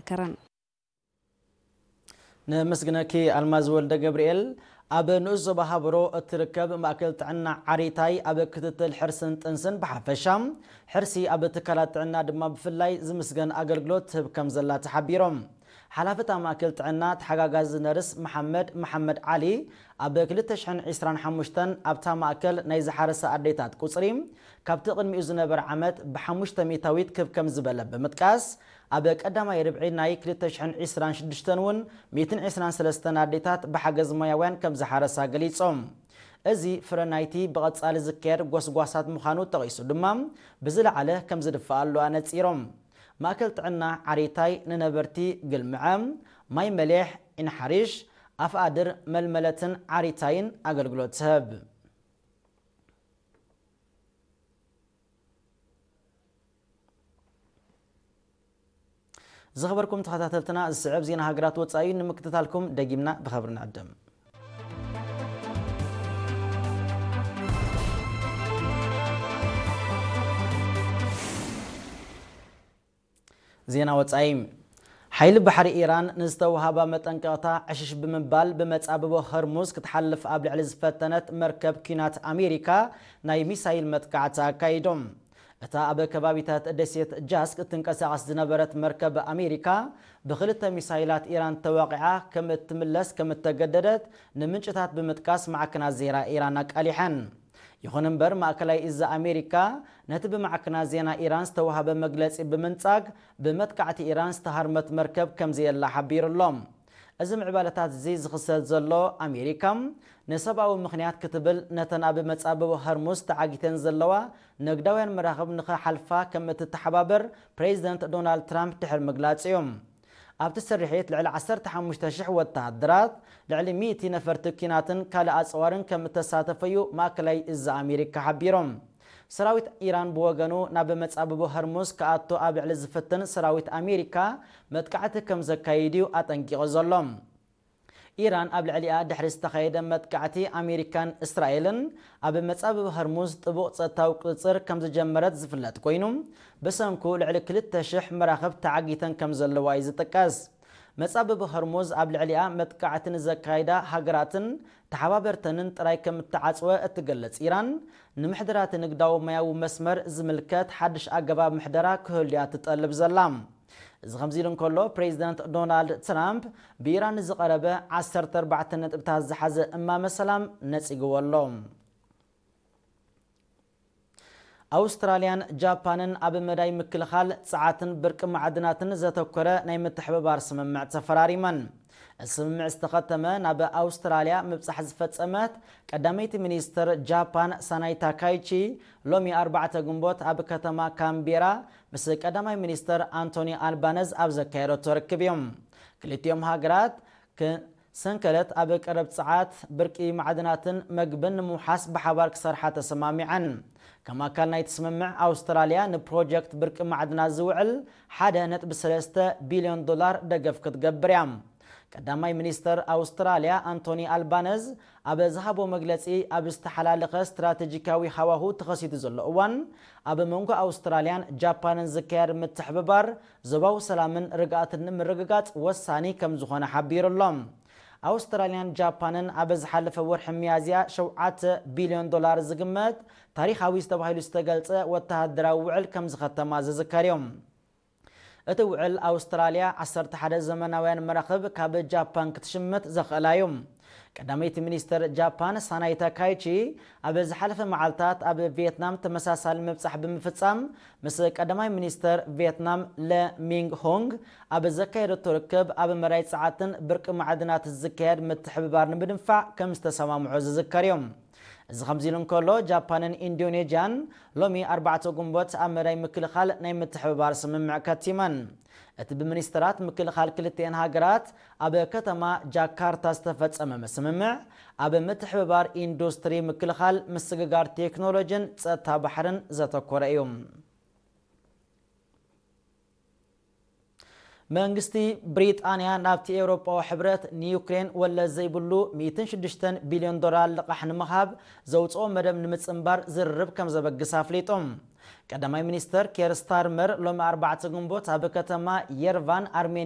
ከረን። ንምስግነኪ ኣልማዝ ወልደ ገብርኤል። ኣብ ንኡስ ዞባ ሃበሮ እትርከብ ማእከል ጥዕና ዓሪታይ ኣብ ክትትል ሕርስን ጥንስን ብሓፈሻ፣ ሕርሲ ኣብ ትካላት ጥዕና ድማ ብፍላይ ዝምስገን ኣገልግሎት ትህብ ከም ዘላ ተሓቢሮም። ሓላፊ እታ ማእከል ጥዕና ተሓጋጋዚ ነርስ መሓመድ መሓመድ ዓሊ፣ ኣብ ክልተ ሽሕን ዕስራን ሓሙሽተን ኣብታ ማእከል ናይ ዝሓረሳ ኣዴታት ቁጽሪ ካብቲ ቅድሚኡ ዝነበረ ዓመት ብሓሙሽተ ሚእታዊት ክብ ከም ዝበለ ብምጥቃስ፣ ኣብ ቀዳማይ ርብዒ ናይ ክልተ ሽሕን ዕስራን ሽዱሽተን እውን ሚእትን ዕስራን ሰለስተን ኣዴታት ብሓገዝ ሞያውያን ከም ዝሓረሳ ገሊጾም። እዚ ፍረ ናይቲ ብቐጻሊ ዝካየድ ጎስጓሳት ምዃኑ ጠቒሱ ድማ፣ ብዝለዓለ ከም ዝድፍኣሉ ኣነጺሮም። ማእከል ጥዕና ዓሪታይ ንነበርቲ ግልምዐ፣ ማይ መሌሕ፣ ኢንሓሪሽ፣ ኣፍኣድር፣ መልመለትን ዓሪታይን ኣገልግሎት ትህብ። ዝኸበርኩም ተኸታተልትና፣ ዝስዕብ ዜና ሃገራት ወጻኢ ንምክትታልኩም ደጊምና ብኸብሪ ንዕድም። ዜና ወጻኢ። ሓይሊ ባሕሪ ኢራን ንዝተወሃባ መጠንቀቕታ ዕሽሽ ብምባል ብመጻብቦ ሆርሙዝ ክትሓልፍ ኣብ ልዕሊ ዝፈተነት መርከብ ኲናት ኣሜሪካ ናይ ሚሳይል መጥቃዕቲ ኣካይዶም። እታ ኣብ ከባቢታት ደሴት ጃስክ እትንቀሳቐስ ዝነበረት መርከብ ኣሜሪካ ብኽልተ ሚሳይላት ኢራን ተወቒዓ ከም እትምለስ ከም እተገደደት ንምንጭታት ብምጥቃስ ማዕከናት ዜና ኢራን ኣቃሊሐን። ይኹን እምበር፣ ማእከላይ እዝ ኣሜሪካ ነቲ ብማዕከናት ዜና ኢራን ዝተዋህበ መግለጺ ብምንጻግ፣ ብመጥቃዕቲ ኢራን ዝተሃርመት መርከብ ከም ዘየላ ሓቢሩ ኣሎ። እዚ ምዕባለታት እዚ ዝኽሰት ዘሎ፣ ኣሜሪካ ንሰብኣዊ ምኽንያት ክትብል ነተን ኣብ መጻብቦ ሆርሙዝ ተዓጊተን ዘለዋ ንግዳውያን መራኽብ ንኽሓልፋ ከም እትተሓባበር ፕሬዚደንት ዶናልድ ትራምፕ ድሕሪ ምግላጽ እዩ። ኣብቲ ስርሒት ልዕሊ ዓሰርተ ሓሙሽተ ሽሕ ወተሃደራት፣ ልዕሊ ሚእቲ ነፈርቲ ኲናትን ካልእ ኣጽዋርን ከም እተሳተፈ እዩ ማእከላይ እዝ ኣሜሪካ ሓቢሮም። ሰራዊት ኢራን ብወገኑ ናብ መጻብቦ ሆርሙዝ ክኣቱ ኣብ ልዕሊ ዝፍትን ሰራዊት ኣሜሪካ መጥቃዕቲ ከም ዘካይድ እዩ ኣጠንቂቑ ዘሎ። ኢራን ኣብ ልዕሊኣ ድሕሪ ዝተኻየደ መጥቃዕቲ ኣሜሪካን እስራኤልን ኣብ መጻብብ ሆርሙዝ ጥቡቕ ጸጥታዊ ቁጽጽር ከም ዝጀመረት ዝፍለጥ ኮይኑ፣ ብሰንኩ ልዕሊ ክልተ ሽሕ መራኽብ ተዓጊተን ከም ዘለዋ እዩ ዝጥቀስ። መጻብብ ሆርሙዝ ኣብ ልዕሊኣ መጥቃዕቲ ንዘካይዳ ሃገራትን ተሓባበርተንን ጥራይ ከም እተዓጽወ እትገልጽ ኢራን፣ ንምሕደራቲ ንግዳዊ ማያዊ መስመር ዝምልከት ሓድሽ ኣገባብ ምሕደራ ክህሉ እያ ትጠልብ ዘላ። እዚ ከምዚ ኢሉ እንከሎ፣ ፕሬዚደንት ዶናልድ ትራምፕ ብኢራን ዝቐረበ ዓሰርተ ኣርባዕተ ነጥብታት ዝሓዘ እማመ ሰላም ነጺግዎ ኣሎ። ኣውስትራልያን ጃፓንን ኣብ መዳይ ምክልኻል ጸዓትን ብርቂ ማዕድናትን ዘተኮረ ናይ ምትሕብባር ስምምዕ ተፈራሪመን። እዚ ስምምዕ ዝተኸተመ ናብ ኣውስትራልያ ምብጻሕ ዝፈጸመት ቀዳመይቲ ሚኒስትር ጃፓን ሳናይ ታካይቺ ሎሚ ኣርባዕተ ግንቦት ኣብ ከተማ ካምቤራ ምስ ቀዳማይ ሚኒስትር ኣንቶኒ ኣልባነዝ ኣብ ዘካየደቶ ርክብ እዮም። ክልቲኦም ሃገራት ክ-፣ ሰንከለት ኣብ ቀረብ ጸዓት፣ ብርቂ ማዕድናትን መግብን ንምውሓስ ብሓባር ክሰርሓ ተሰማሚዐን። ከም ኣካል ናይቲ ስምምዕ፣ ኣውስትራልያ ንፕሮጀክት ብርቂ ማዕድናት ዝውዕል ሓደ ነጥቢ ሰለስተ ቢልዮን ዶላር ደገፍ ክትገብር እያ። ቀዳማይ ሚኒስተር ኣውስትራልያ ኣንቶኒ ኣልባነዝ ኣብ ዝሃቦ መግለጺ፣ ኣብ ዝተሓላለኸ ስትራቴጂካዊ ሃዋሁ ተኸሲቱ ዘሎ እዋን፣ ኣብ መንጎ ኣውስትራልያን ጃፓንን ዝካየድ ምትሕብባር ዞባዊ ሰላምን ርግኣትን ንምርግጋጽ ወሳኒ ከም ዝኾነ ሓቢሩ ኣሎ። ኣውስትራልያን ጃፓንን ኣብ ዝሓለፈ ወርሒ ሚያዝያ ሸውዓተ ቢልዮን ዶላር ዝግመት ታሪኻዊ ተባሂሉ ዝተገልጸ ወተሃደራዊ ውዕል ከም ዝኸተማ ዝዝከር እዩ። እቲ ውዕል፣ ኣውስትራልያ ዓሰርተ ሓደ ዘመናውያን መራኽብ ካብ ጃፓን ክትሽምት ዘኽእላ እዩ። ቀዳመይቲ ሚኒስተር ጃፓን ሳናይ ታካይቺ ኣብ ዝሓለፈ መዓልታት ኣብ ቪየትናም ተመሳሳሊ ምብጻሕ ብምፍጻም፣ ምስ ቀዳማይ ሚኒስተር ቪየትናም ለ ሚንግ ሆንግ ኣብ ዘካየደቶ ርክብ፣ ኣብ መዳይ ጸዓትን ብርቂ ማዕድናት ዝካየድ ምትሕብባር ንምድንፋዕ ከም ዝተሰማምዑ ዝዝከር እዩ። እዚ ከምዚ ኢሉ እንከሎ፣ ጃፓንን ኢንዶኔዥያን ሎሚ ኣርባዕተ ግንቦት ኣብ መዳይ ምክልኻል ናይ ምትሕብባር ስምምዕ ከቲመን። እቲ ብሚኒስትራት ምክልኻል ክልቲኤን ሃገራት ኣብ ከተማ ጃካርታ ዝተፈጸመ ስምምዕ፣ ኣብ ምትሕብባር ኢንዱስትሪ ምክልኻል፣ ምስግጋር ቴክኖሎጂን ጸጥታ ባሕርን ዘተኮረ እዩ። መንግስቲ ብሪጣንያ ናብቲ ኤውሮጳዊ ሕብረት ንዩክሬን ወለድ ዘይብሉ ሚእትን ሽዱሽተን ቢልዮን ዶላር ልቓሕ ንምሃብ ዘውፅኦ መደብ ንምጽንባር ዝርርብ ከም ዘበግስ ኣፍሊጡ። ቀዳማይ ሚኒስተር ኬር ስታርመር ሎሚ ኣርባዕተ ግንቦት ኣብ ከተማ የርቫን ኣርሜንያ